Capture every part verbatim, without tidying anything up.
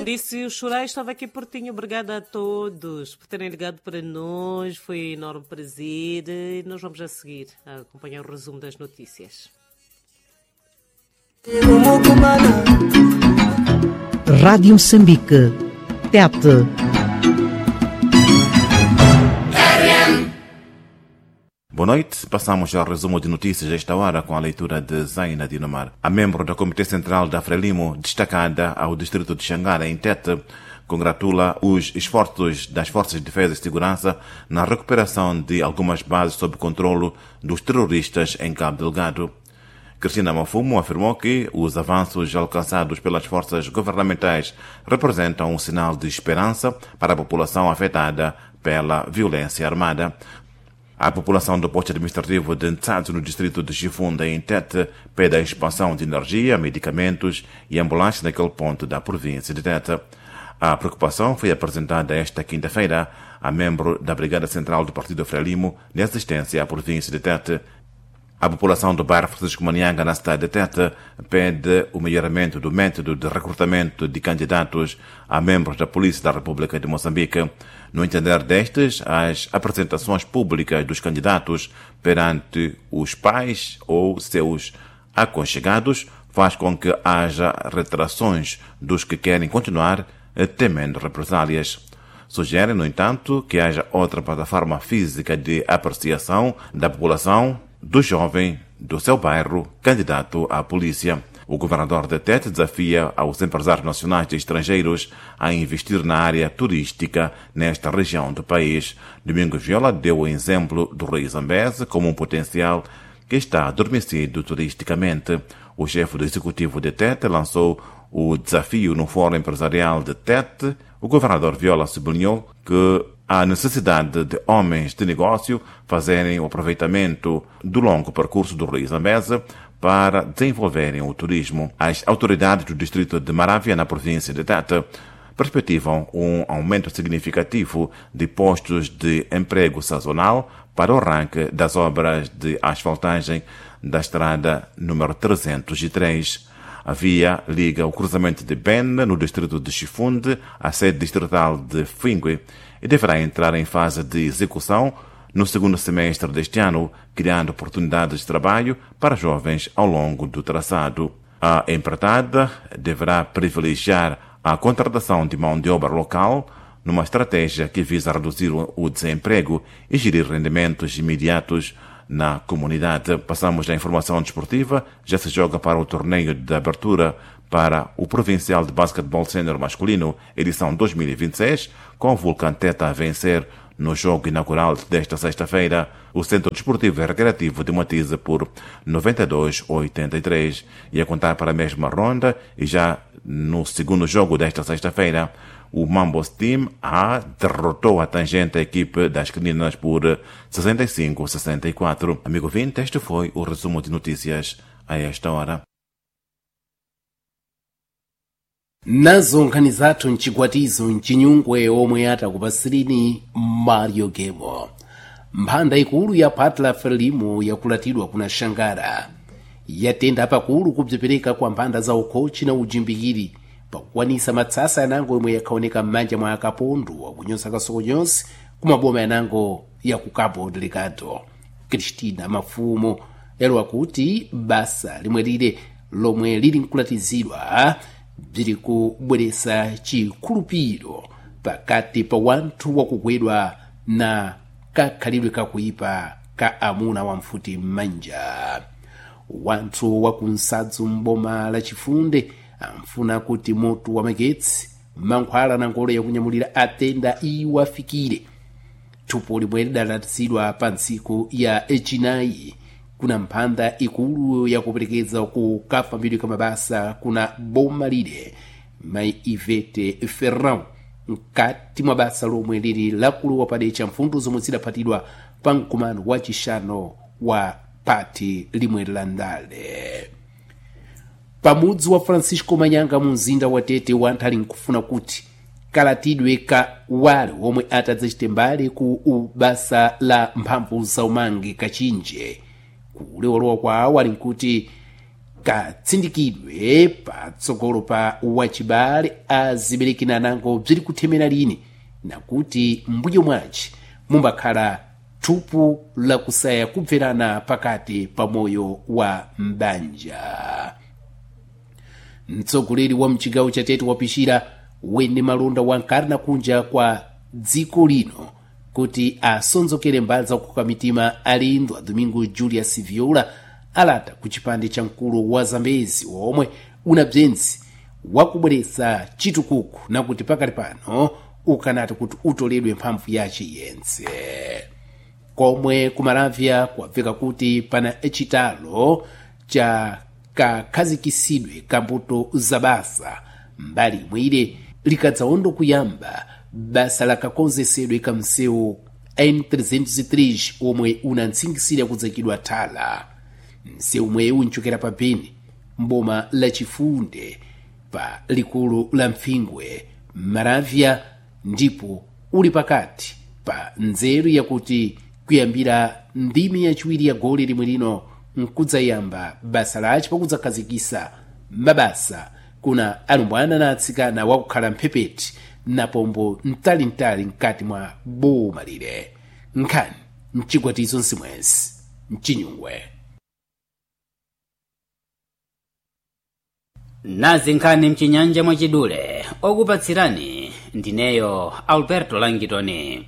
Disse o chorei, estava aqui pertinho. Obrigada a todos por terem ligado para nós. Foi um enorme prazer. E nós vamos a seguir a acompanhar o resumo das notícias. Rádio Moçambique, Tete. Boa noite. Passamos ao resumo de notícias desta hora com a leitura de Zaina Dinomar. A membro do Comitê Central da Frelimo, destacada ao distrito de Xangara, em Tete, congratula os esforços das Forças de Defesa e Segurança na recuperação de algumas bases sob controlo dos terroristas em Cabo Delgado. Cristina Mafumo afirmou que os avanços alcançados pelas forças governamentais representam um sinal de esperança para a população afetada pela violência armada. A população do posto administrativo de Ntsatsu, no distrito de Chifunda, em Tete, pede a expansão de energia, medicamentos e ambulâncias naquele ponto da província de Tete. A preocupação foi apresentada esta quinta-feira a membro da Brigada Central do Partido Frelimo de assistência à província de Tete. A população do bairro Francisco Manianga, na cidade de Tete, pede o melhoramento do método de recrutamento de candidatos a membros da Polícia da República de Moçambique. No entender destes, as apresentações públicas dos candidatos perante os pais ou seus aconchegados faz com que haja retrações dos que querem continuar temendo represálias. Sugere, no entanto, que haja outra plataforma física de apreciação da população do jovem do seu bairro candidato à polícia. O governador de Tete desafia aos empresários nacionais e estrangeiros a investir na área turística nesta região do país. Domingos Viola deu o exemplo do Rio Zambeze como um potencial que está adormecido turisticamente. O chefe do executivo de Tete lançou o desafio no Fórum Empresarial de Tete. O governador Viola sublinhou que a necessidade de homens de negócio fazerem o aproveitamento do longo percurso do Rio Zambeze para desenvolverem o turismo. As autoridades do distrito de Maravia, na província de Tete, perspectivam um aumento significativo de postos de emprego sazonal para o arranque das obras de asfaltagem da estrada número trezentos e três. A via liga o cruzamento de Ben, no distrito de Chifunde, à sede distrital de Fingue, e deverá entrar em fase de execução no segundo semestre deste ano, criando oportunidades de trabalho para jovens ao longo do traçado. A empreitada deverá privilegiar a contratação de mão de obra local, numa estratégia que visa reduzir o desemprego e gerir rendimentos imediatos na comunidade. Passamos à informação desportiva. Já se joga para o torneio de abertura para o Provincial de Basquetebol Sénior Masculino, edição dois mil e vinte e seis, com o Vulcão Tete a vencer no jogo inaugural desta sexta-feira o Centro Desportivo e Recreativo de Matize por noventa e dois a oitenta e três. E a contar para a mesma ronda, e já no segundo jogo desta sexta-feira, o Mambos Team A derrotou a tangente a equipe das Caninas por sessenta e cinco a sessenta e quatro. Amigo ouvinte, este foi o resumo de notícias a esta hora. Nazo nkhani zathu mchigwatizo mchinyungwe omwe atakupasirini Mario Gemo. Mphanda ikulu ya Patla Frelimo yakulatidwa kuna Shangara yatenda pakulu kubzipereka kwa mphanda za ukhochi na ujimbikiri pakukwanisa matsasa yanango yomwe yakhaoneka m'manja mwa akapondu akunyosa kasokonyosi kumaboma yanango ya ku Cabo Delgado. Cristina Mafumo yalowa kuti basa limwe lile lomwe lili nkulatizidwa bziri kubweresa chikhulupiro pakati pa wanthu wakugwedwa na kakhalidwe kakuipa ka amuna wamfuti m'manja. Wanthu wakunsadzu m'boma la Chifunde amfuna kuti moto wa magetsi, mankhwala na ngolo yakunyamulira atenda iwafikire. Thupo limwe lidalatizidwa pa ntsiku ya echinayi kuna mphanda ikulu yakuperekeza ku kafambidwe ka mabasa kuna boma lile mai Ivete Ferrão mkati mwa basa lomwe lili lakulowa padecha mfundo zomwe zidaphatidwa pa mkumano wa chixano wa pati limwe la ndale. Pamudzi wa Francisco Manyanga mu mzinda wa Tete wanthu ali nkufuna kuti kalatidwe ka wale omwe atadzachite mbali ku ubasa la mphamvu za umangi kachinje. Kulewolowa kwawo ali nkuti Katsindikidwe patsogolo pa wachibale aziberekina nango bziri kuthemera lini, nakuti mbuyo mwaci mumbakhala thupu lakusaya kubverana pakati pa moyo wa mbanja. Mtsogoleri wa mchigawo cha Tete wapishira wene malonda wankarna kunja kwa dziko lino kuti asonzokere mbali zakukoka mitima alendo a Domingo Julius Viola alata ku chipande cha mkulu wa Zambezi omwe una bzenzi wakubweretsa chitukuko nakuti pakali pano ukanati kuti utoledwe mphamvu yace yense. Komwe kumalavya kwabveka kuti pana chitalo cha kakhazikisidwe ka mbuto za basa mbali imwe ile likadzawondo kuyamba basa lakakonzesedwe ka msewu N trezentos e três omwe unantsingisira kudzakidwa thala. Msewu mwewu nchokera pa Beni mboma la Chifunde pa likulu la Mpfingwe Maravya, ndipo uli pakati pa nzeru yakuti kuyambira ndimi yachiwiri ya goli limwe lino nkudzayamba basa laci pakudzakhazikisa mabasa kuna alumbwana na atsikana wakukhala mphepete na pombo mtalintali mkati mwa boma lile. Nkhani mchigwatizo nsimwezi mchinyungwe. Nazi nkhani mchinyanja mwachidule okupatsirani ndineyo Alberto Langitoni.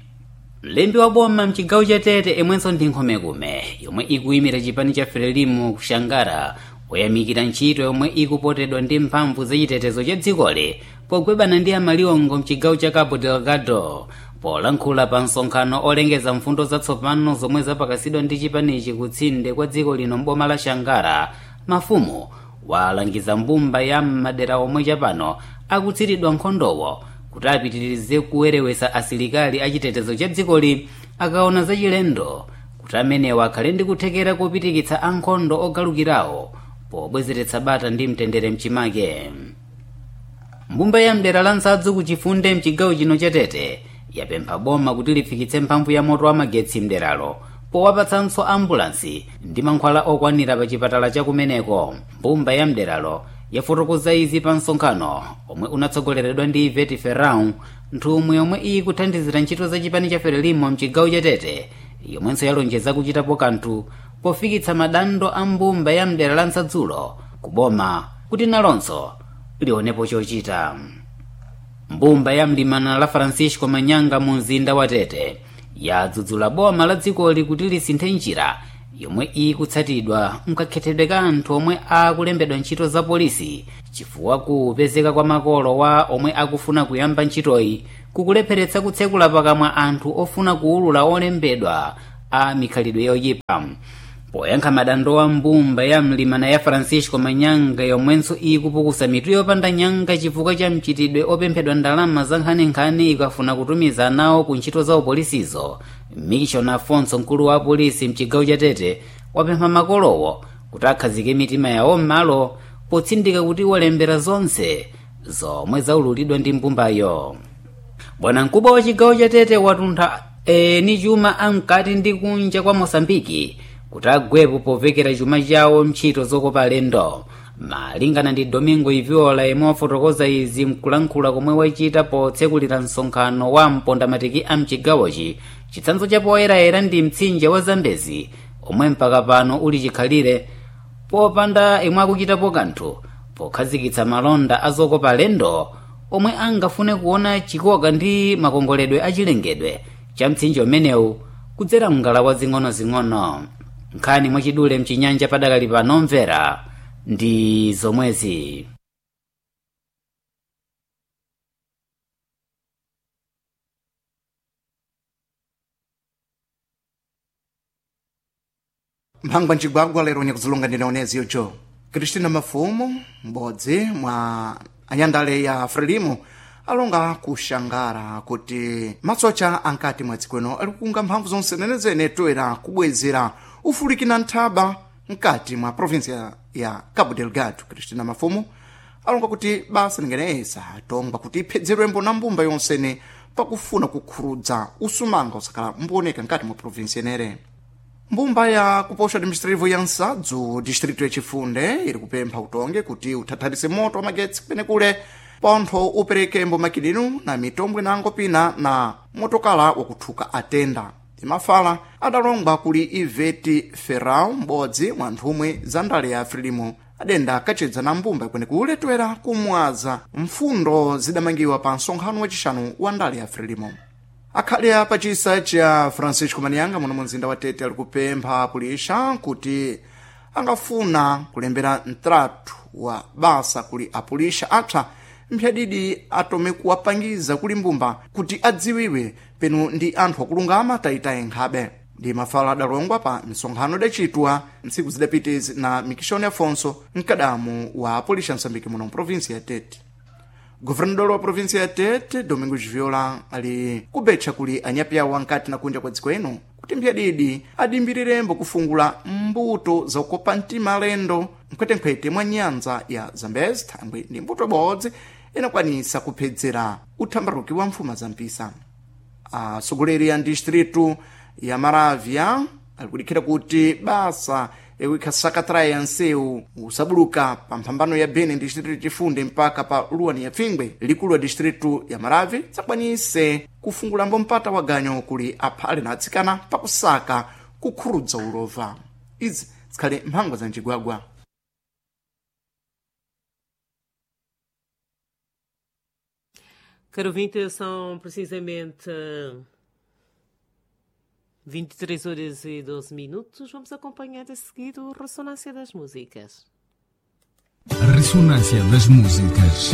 Mlembi wa boma mchigawo cha Tete imwenso ndi nkhomekume yomwe ikuyimira chipani cha Frelimu kushangara woyamikira ntchito yomwe ikupotedwa ndi mphamvu zachitetezo cha dzikoli pogwebana ndi amaliwongo mchigawo cha Cabo Delgado. Polankhula pa msonkhano olengeza mfundo zatsopano zomwe zapakasidwa ndi chipanichi kutsinde kwa dziko lino mboma la Shangara, mafumu walangiza mbumba ya madera omwe chapano akutsiridwa nkhondowo kuti apitirize kuwerewesa asilikali achitetezo cha dzikoli akaona zachilendo kuti amenewa akhale ndi kuthekera kopitikitsa ankhondo ogalukirawo pobwezeretsa bata ndi mtendere mchimake. Mbumba ya mdera la Nsadzu kuchifunde mchigawo chino cha Tete yapempha boma kuti lifikitse mphamvu ya moto wa magetsi mderalo powapatsanso ambulansi ndi mankhwala okwanira pa chipatala chakumeneko. Mbumba ya mderalo yafotokoza izi pa msonkhano omwe unatsogoleredwa ndi Ivete Ferrão, nthumwi yomwe ikuthandizira ntchito za chipani cha Frelimo mchigawo cha Tete, yomwenso yalonjeza kuchitapo kanthu pofikitsa madando a mbumba ya mdera la Nsadzulo kuboma kuti nalonso lionepo chochita. Mbumba ya mlimana la Francisco Manyanga mu mzinda wa Tete yadzudzula boma la dzikoli kuti lisinthe njira yomwe ikutsatidwa mkakhethedwe ka anthu omwe akulembedwa ntchito za polisi, chifukwa kupezeka kwa makolo wa omwe akufuna kuyamba ntchitoyi kukulepheretsa kutsekula pakamwa anthu ofuna kuwulula olembedwa a mikhalidwe yoyipa. Poyankha madando wa mbumba ya mlimana ya Francisco Manyanga yomwenso ikupukusa mitu yopanda nyanga chifukwa cha mchitidwe opemphedwa ndalama za nkhaninkhani ikafuna kutumiza nawo ku ntchito za upolisizo, Mission Afonso mkulu wa polisi mchigawo cha Tete wapempha makolowo kuti akhazike mitima yawo m'malo potsindika kuti walembera zonse zomwe zaululidwa ndi mbumbayo. Bwana mkubwa wa chigawo cha Tete watuntha eni chuma amkati ndi kunja kwa Mosambiki kuti agwepo povekera chuma chawo ntchito zokopa alendo. Malingana ndi Domingo Iviola yemwe wafotokoza izi mkulankhula komwe wachita potsekulira msonkhano wa mpondamatiki a mchigawochi, chitsanzo cha poyerayera ndi mtsinje wa Zambezi omwe mpaka pano uli chikhalire popanda imwe akuchitapo kanthu pokhazikitsa malonda azokopa alendo omwe angafune kuona chikoka ndi makongoledwe achilengedwe cha mtsinje umenewu kudzera mngalawa zing'onozing'ono. Nkhani mwachidule mchinyanja padakali pano mvera ndi zomwezi. Mphangwa ncigwagwa lero nyakuzilonga ndinaoneziyo jo Cristina Mafumo, m'bodzi mwa anyandale ya Frelimo alonga kuxangara kuti matsocha ankati mwa dziko ino ali kukunga mphamvu zonse zenezene toera kubwezera ufulikina nthaba mkati mwa provinsia ya Cabo Delgado. Cristina Mafumo alonga kuti basa lingeneyesa tongwa kuti iphedzerwembo na mbumba yonsene pakufuna kukhurudza usumanga usakhala mbuoneka mkati mwa provinsia inere. Mbumba ya kuposha administrativo ya Nsadzu, distrito ya Chifunde, iri kupempha utonge kuti uthathalise moto wa magetsi kupenekule pontho uperekembo makilinu na mitombwe nango pina na motokala wakuthuka atenda. Timafala adalongwa kuli Iveti Ferrao, m'bodzi mwa nthumwi za ndale ya Frelimo, adenda akacedza na mbumba kwenekule toera kumwaza mfundo zidamangiwa pa nsonkhano wacixanu wa ndale ya Frelimo. Akhale a pachisa cha Francisco Manianga muno mu mzinda wa Tete ali kupempha apulixa kuti angafuna kulembera mtratu wa basa kuli apulixa apsa mphyadidi atome kuwapangiza kuli mbumba kuti adziwiwe penu ndi anthu akulungama tayitaye nkhabe. Ndi mafala adalongwa pa misonkhano idacitwa ntsiku zidapitizi na Mikishoni Afonso, mkadamu wa apulixa Msambiki muno mprovinsi ya Tete. Governador wa província ya Tete, Domingos Viola, ali kubetcha kuli anyapiawo ankati na kunja kwa dziko ino kuti mphyadidi adimbirembo kufungula mbuto zakukopa mtima alendo mkhwetenkhwete mwa nyanza ya Zambezi, thangwi ndi mbuto ibodzi inakwanisa kuphedzera uthambaruki wa mfuma za mpisa. Atsogoleri a distritu ya Maravya ali kudikhira kuti basa yakuikha sakatrayi ya nsewu usabuluka pa mphambano ya Beni distritu Chifunde mpaka pa Luwani ya Pfingwe, likulu la distritu ya Maravi, tsakwanise kufungulambo mpata wa ganyo kuli aphale na atsikana pakusaka kukhurudza ulova. Izi zikhale mphangwa za mcigwagwa. Caro ouvinte, são precisamente vinte e três horas e doze minutos. Vamos acompanhar a seguir o Ressonância das Músicas. A Ressonância das Músicas.